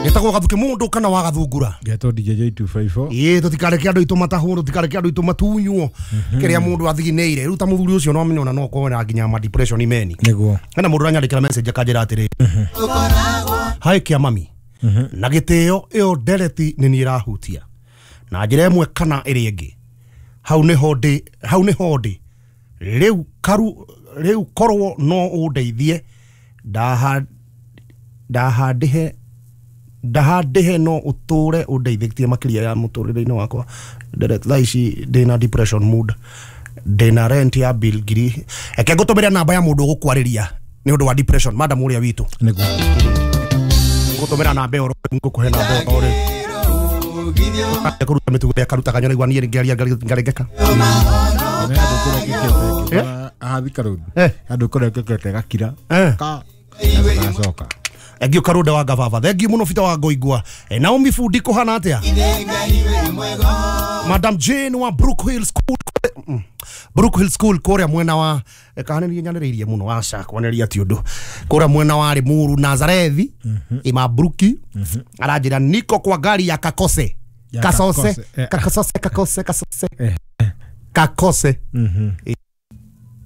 Getagwo gathuke mundu kana wa gathungura. Getwo DJ 254. Ĩĩ tutikareke andu aitu matahwo, tutikareke andu aitu matunywo kiria mundu athigineire. Riu ta muthuri ucio no amenye ona no akorwo na nginya ma depression meni. Niguo. Hena mundu uranyandikira message akanjira atiri. Hai kia mami. Na gitio iyo ndereti ni ni irahutia. Na njira ĩmwe kana ĩrĩa ĩngĩ. Hau niho ndi, hau niho ndi. Riu karu riu korwo no undeithie ndahandihe no uture undeithitie makiria ya muturire-inĩ wakwa. Thaa ici ndina depression mood, ndina rent ya bill ngiri. Eke ngũtũmĩre namba ya mũndũ ũgũkwarĩria nĩ ũndũ wa depression, madam ũrĩa witũ. Nĩguo. Ngũtũmĩra namba ĩyo, ngũkũhe namba ĩyo rĩ. Kũruta mĩtugo ya karutaga nyonaigua niĩ ngĩaria ngarengeka. Andũ kũrekekete gakira. Ka. Gacoka. Thank you Karuda wa Gavava. Thank you muno Fita wa Goigua. Naomi Fundi kuhana atia? Madam Jane wa Brook Hill School. Brook Hill School kuria mwena wa kana ni nyanĩrĩirie muno aca kwanĩria ti ũndũ. Kuria mwena wa Limuru Nazarethi ima Brooki aranjĩra niko kwa gari ya Kakose. Kasose, Kakose, Kakose, Kasose. Kakose.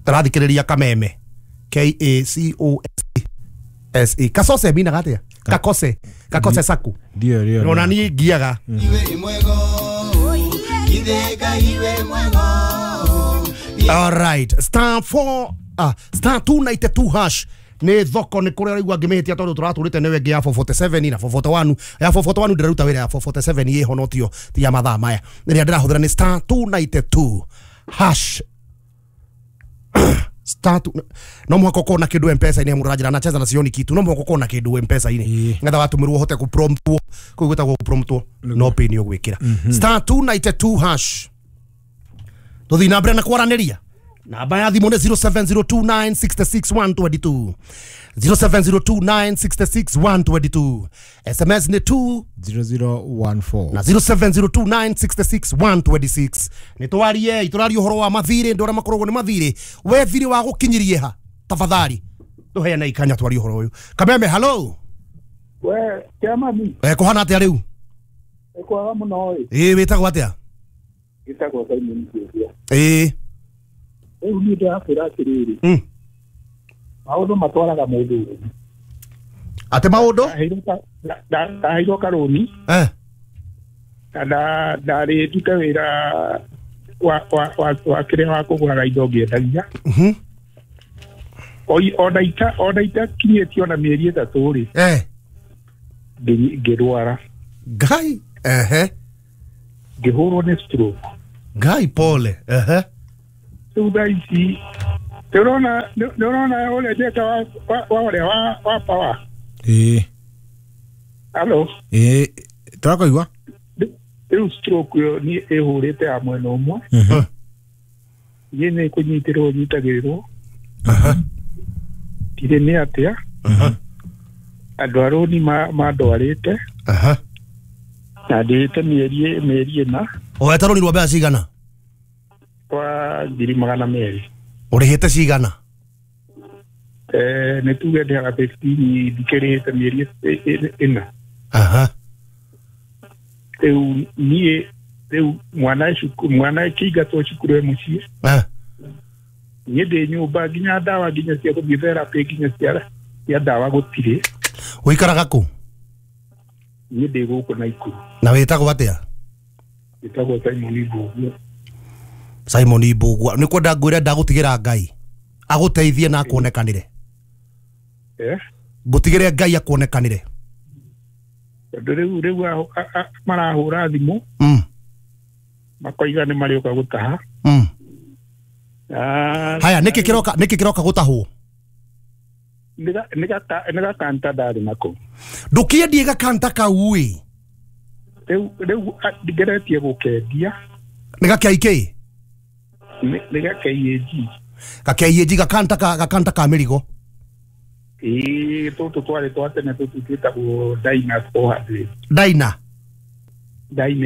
Tarathikĩrĩria Kameme. K A C O S S E. Kasose mina gatia. Kakose. Kakose saku. Ndio ndio. Ona ni ngiaga. All right. Star 4 star 292 hash. Ni thoko ni kuria raigua ngimihitia tondu turaturite ni wengi ya 447 na 441 ya 441 ndiraruta wira ya 447 iho no tio ti ya mathaa maya ria ndirahuthira ni star 292 hash. Star 2 no muhaka ukorwo na kindu M-Pesa ini muranjira na cheza na sioni kitu no muhaka ukorwo na kindu M-Pesa ini ngetha watumirwo uhote ku promptwo kuu gwitagwo promptwo no pin ugwikira star 292 hash. Tuthii na mbere na kwaraniria. Namba ya thimũ nĩ 0702966122 0702966122. SMS nĩ 200014 na 0702966126. Nĩ twarie itũrarie ũhoro wa mathirĩ, ndũ arĩa makoragwo nĩ mathirĩ. We thirĩ wa gũkinyirie ha? Tafadhali tũheane ikanya twarie ũhoro ũyũ. Kameme, hello. We kĩamami. Kũhana atĩa rĩu? Kwega mũno ĩ. Ĩ wĩtagwo atĩa? Gĩtagwo Simon Kĩũria. Ĩ rĩu niĩ ndĩrakwĩra atĩrĩrĩ, maũndũ matwaraga mũndũ ũru. Atĩ maũndũ? Ndaheirwo karũni na ndarĩ ndute wĩra wa kĩrĩa wa kũgũraga indo ngĩendagia. Ona itakinyĩtie ona mĩeri 3 rĩ, ngĩrwara. Ngai. Ehe. Ngĩhũrwo nĩ stroke. Ngai pole. Ehe. Rĩu thaa ici nĩũrona ũrĩa njeka wa ũrĩa wa power. Ĩĩ. Hello. Ĩĩ tũrakũigua. Rĩu stroke ĩyo niĩ ĩhũrĩte ya mwena ũmwe. Niĩ nĩ kũnyitĩrĩrwo nyitagĩrĩrwo. Ndirĩ nĩ atĩa. Andũ a rũni mandwarĩte. Na ndĩhĩte mĩeri 4. Ũhete rũni rwa mbeca cigana? Kwa 200,000. Ũrĩhĩte cigana? Nĩ tuge ndĩhaga 15 ndikĩrĩhĩte mĩeri 4. Rĩu niĩ rĩu mwana mwana kĩingatwo cukuru e mũciĩ. Niĩ ndĩ nyũmba nginya ndawa nginya cia gũthiĩ therapy nginya cia ndawa gũtirĩ. Ũikaraga kũ? Niĩ ndĩ gũkũ Naikuru. Na wĩtagwo atĩa? Wĩtagwo Simon Mbugua. Simon Mbugua nĩ kwenda ngwĩre ndagũtigĩra Ngai agũteithie na akuonekanĩre. Ngũtigĩre Ngai akuonekanĩre. Tondũ rĩu marahũra thimũ makoiga nĩ marĩũka gũtaha. Haya, nĩkĩ kĩroka gũtahwo? Nĩ gakanta ndarĩ nako. Ndũkĩendie gakanta kau ĩ? Rĩu ngeretie gũkendia. Nĩ gakĩa ikĩ? Nĩ ga KAG. Ga KAG gakanta ka mĩrigo. Ĩĩ tũtũ twarĩ twa tene tũtũ twĩtagwo Dyna 400. Dyna? Dyna.